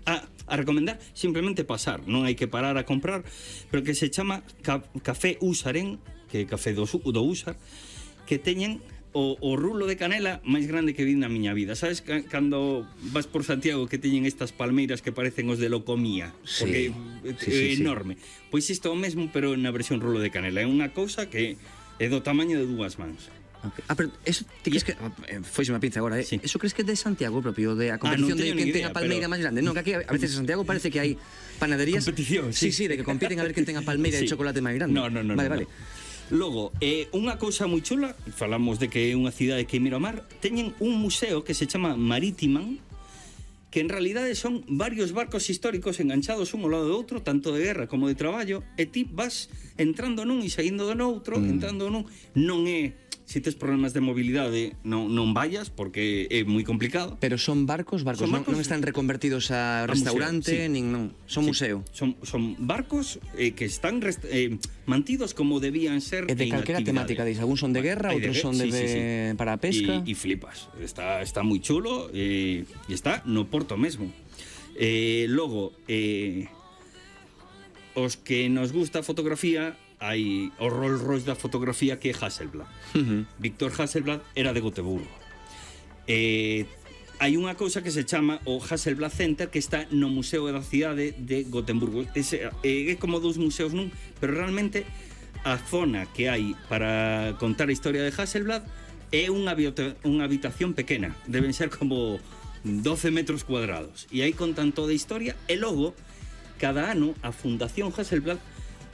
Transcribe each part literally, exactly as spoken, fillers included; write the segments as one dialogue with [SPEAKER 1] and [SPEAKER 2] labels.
[SPEAKER 1] a, a recomendar simplemente pasar, non hai que parar a comprar, pero que se chama ca, Café Húsaren, que é café do, do Húsar, que teñen o, o rulo de canela máis grande que vi na miña vida. Sabes cando vas por Santiago que teñen estas palmeiras que parecen os de Locomía,
[SPEAKER 2] sí,
[SPEAKER 1] porque
[SPEAKER 2] sí,
[SPEAKER 1] é
[SPEAKER 2] sí,
[SPEAKER 1] enorme.
[SPEAKER 2] Sí.
[SPEAKER 1] Pois isto é o mesmo, pero na versión rulo de canela. É unha cousa que é do tamaño de dúas mans.
[SPEAKER 2] Okay. Ah, pero eso ti crees que eh, foise unha pinza agora, eh?
[SPEAKER 1] Sí.
[SPEAKER 2] Eso crees que é de Santiago propio, de a competición ah, no de quen ten a palmeira pero... máis grande? Non, que aquí a veces en Santiago parece que hai panaderías.
[SPEAKER 1] Competición,
[SPEAKER 2] sí. Sí, sí, de que compiten a ver quen ten a palmeira sí. de chocolate máis grande.
[SPEAKER 1] No, no, no.
[SPEAKER 2] Vale,
[SPEAKER 1] no,
[SPEAKER 2] vale.
[SPEAKER 1] No. Logo, eh, unha cousa moi chula, falamos de que é unha cidade que mira ao mar, teñen un museo que se chama Marítiman, que en realidade son varios barcos históricos enganchados un ao lado do outro, tanto de guerra como de traballo, e ti vas entrando nun e saindo do noutro, mm. entrando nun, non é... Se tes problemas de mobilidade, non, non vayas, porque é moi complicado.
[SPEAKER 2] Pero son barcos, barcos, son barcos non, non están reconvertidos a, a restaurante, museo, sí. nin non, son sí. museo.
[SPEAKER 1] Son, son barcos eh, que están rest, eh, mantidos como debían ser.
[SPEAKER 2] E de calquera temática, dis, algún son de guerra, outros son de, sí, sí, sí. para a pesca.
[SPEAKER 1] E flipas, está, está moi chulo e eh, está no Porto mesmo. Eh, logo, eh, os que nos gusta a fotografía, hai o Rolls Royce da fotografía que é Hasselblad. Uh-huh. Víctor Hasselblad era de Gotemburgo. Eh, hai unha cousa que se chama o Hasselblad Center, que está no Museo da Cidade de Gotemburgo. Ese, eh, é como dous museos nun, pero realmente a zona que hai para contar a historia de Hasselblad é unha, unha habitación pequena. Deben ser como doce metros cuadrados. E aí contan toda a historia. E logo, cada ano, a Fundación Hasselblad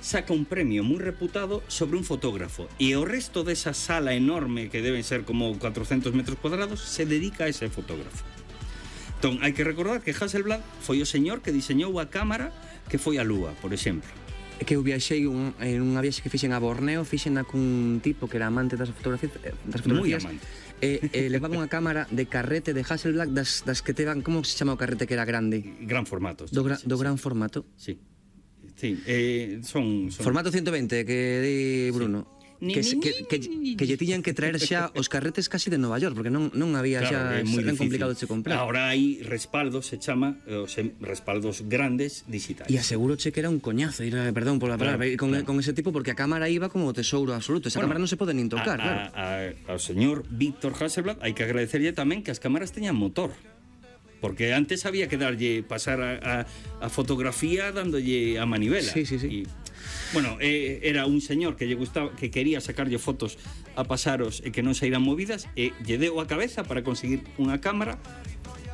[SPEAKER 1] saca un premio moi reputado sobre un fotógrafo e o resto desa sala enorme que deben ser como cuatrocentos metros cuadrados se dedica a ese fotógrafo. Entón, hai que recordar que Hasselblad foi o señor que diseñou a cámara que foi a Lúa, por exemplo.
[SPEAKER 2] É que eu viaxei un, en unha viaxe que fixen a Borneo, fixen cun tipo que era amante das fotografías, das fotografías
[SPEAKER 1] moi amante.
[SPEAKER 2] E, e levaba unha cámara de carrete de Hasselblad das, das que te van, como se chama o carrete que era grande?
[SPEAKER 1] Gran formato.
[SPEAKER 2] Do, gra,
[SPEAKER 1] sí,
[SPEAKER 2] do
[SPEAKER 1] sí.
[SPEAKER 2] gran formato?
[SPEAKER 1] Sí. Sí, eh, son, son...
[SPEAKER 2] Formato ciento veinte, que di Bruno. Sí. Que, que, que, que lle tiñan que traer xa os carretes casi de Nova York, porque non, non había
[SPEAKER 1] claro,
[SPEAKER 2] xa,
[SPEAKER 1] moi
[SPEAKER 2] ben complicado de se comprar.
[SPEAKER 1] Ahora hai respaldos, se chama, os respaldos grandes digitais.
[SPEAKER 2] E aseguroche que era un coñazo, era, perdón por la palabra, claro, con, claro. con ese tipo, porque a cámara iba como tesouro absoluto. Esa bueno, cámara non se pode nin tocar,
[SPEAKER 1] a,
[SPEAKER 2] claro.
[SPEAKER 1] A, a, ao señor Víctor Hasselblad hai que agradecerlle tamén que as cámaras teñan motor. Porque antes había que darlle, pasar a, a, a fotografía dándolle a manivela.
[SPEAKER 2] Sí, sí, sí.
[SPEAKER 1] Y, bueno, eh, era un señor que lle gustaba, que quería sacarlle fotos a pasaros e que non saíran movidas, e lle deu a cabeza para conseguir unha cámara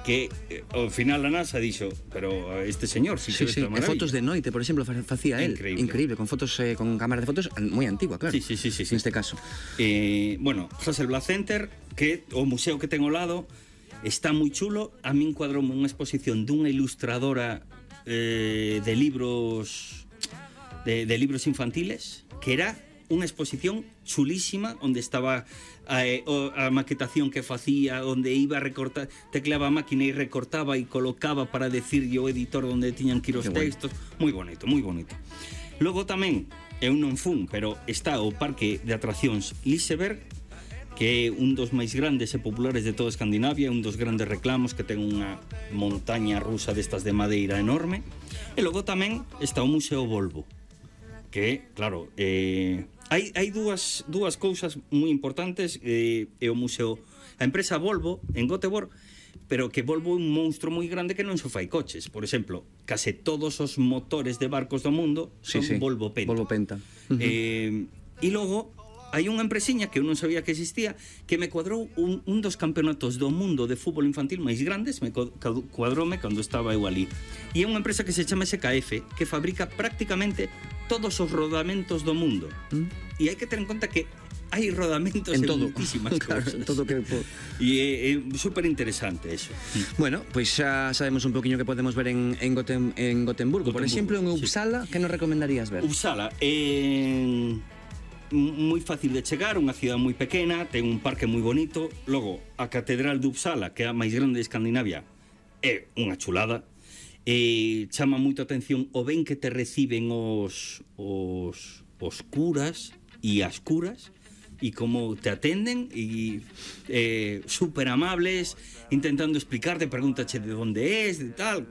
[SPEAKER 1] que eh, ao final a NASA dixo, pero este señor
[SPEAKER 2] sí, sí, sí. E fotos de noite, por exemplo, facía él.
[SPEAKER 1] Increíble.
[SPEAKER 2] Increíble, con fotos eh, con cámara de fotos moi antigua, claro.
[SPEAKER 1] Sí, sí, sí, sí, sí.
[SPEAKER 2] Neste caso.
[SPEAKER 1] Eh, bueno, Hasselblad Center, que o museo que ten ao lado está moi chulo. A min cuadroume unha exposición dunha ilustradora eh, de libros de, de libros infantiles, que era unha exposición chulísima, onde estaba a, a maquetación que facía, onde iba a recortar, tecleaba a máquina e recortaba e colocaba para decirlle o editor onde tiñan que ir os textos. Moi bonito, moi bonito. Logo tamén, eu non fun, pero está o parque de atraccións Liseberg, que é un dos máis grandes e populares de toda Escandinavia, un dos grandes reclamos, que ten unha montaña rusa destas de madeira enorme. E logo tamén está o Museo Volvo, que, claro, eh, hai, hai dúas, dúas cousas moi importantes. Eh, é o museo, a empresa Volvo en Göteborg, pero que Volvo é un monstro moi grande que non só fai coches. Por exemplo, case todos os motores de barcos do mundo son
[SPEAKER 2] sí, sí.
[SPEAKER 1] Volvo Penta.
[SPEAKER 2] Volvo Penta. Uh-huh.
[SPEAKER 1] Eh, e logo hai unha empresiña que eu non sabía que existía, que me cuadrou un, un dos campeonatos do mundo de fútbol infantil máis grandes, me cuadroume cando estaba eu ali. E é unha empresa que se chama S K F, que fabrica prácticamente todos os rodamentos do mundo. ¿Mm? E hai que ter en conta que hai rodamentos en, en todo. Muchísimas
[SPEAKER 2] claro,
[SPEAKER 1] cousas.
[SPEAKER 2] En todo que...
[SPEAKER 1] E é, é super interesante eso.
[SPEAKER 2] Bueno, pois pues xa sabemos un poquinho que podemos ver en, en, Gotem, en Gotemburgo. Gotemburgo. Por exemplo, en Uppsala, sí. Que nos recomendarías ver?
[SPEAKER 1] Uppsala, en... moi fácil de chegar, unha cidade moi pequena, ten un parque moi bonito. Logo, a Catedral de Uppsala, que é a máis grande de Escandinavia, é unha chulada. E chama moito a atención o ben que te reciben os, os, os curas e as curas, e como te atenden, e eh, super amables, intentando explicarte, pregúntache de onde es, de tal.